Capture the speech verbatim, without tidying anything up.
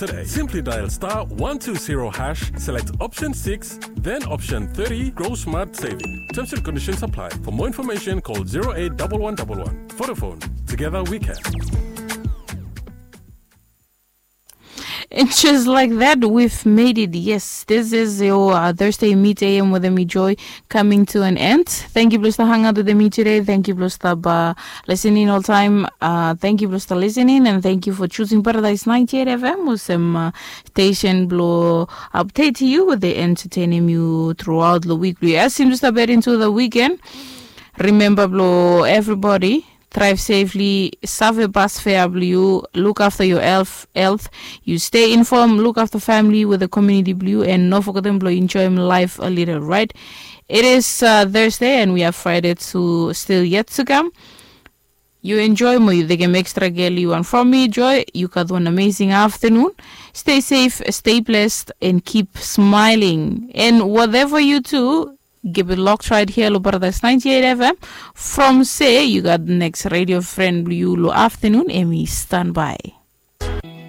today. Simply dial star one two zero hash, select option six, then option thirty, Grow Smart Saving. Terms and conditions apply. For more information, call zero eight double one double one. Vodafone. Together we can. And just like that, we've made it. Yes, this is your uh, Thursday Meet A M with Emi Joy coming to an end. Thank you, blong stap hang out with Emi today. Thank you, blong stap uh, listening all time. Uh, thank you, blong stap listening, and thank you for choosing Paradise ninety-eight F M olsem uh, station blong update you with the entertaining you throughout the week. Blong as we step into the weekend, remember, blong everybody, drive safely, save bus fare blong you, look after your health, health. You stay informed, look after family with the community blong you, and no forget blong enjoy life a little, right? It is uh, Thursday and we have Friday to still yet to come. You enjoy mo you taking extra care you want from me, Joy. You got one amazing afternoon. Stay safe, stay blessed, and keep smiling. And whatever you do, give it lock right here, Lubardas ninety-eight F M. From say you got the next radio friend, you lo afternoon, Emi, stand by.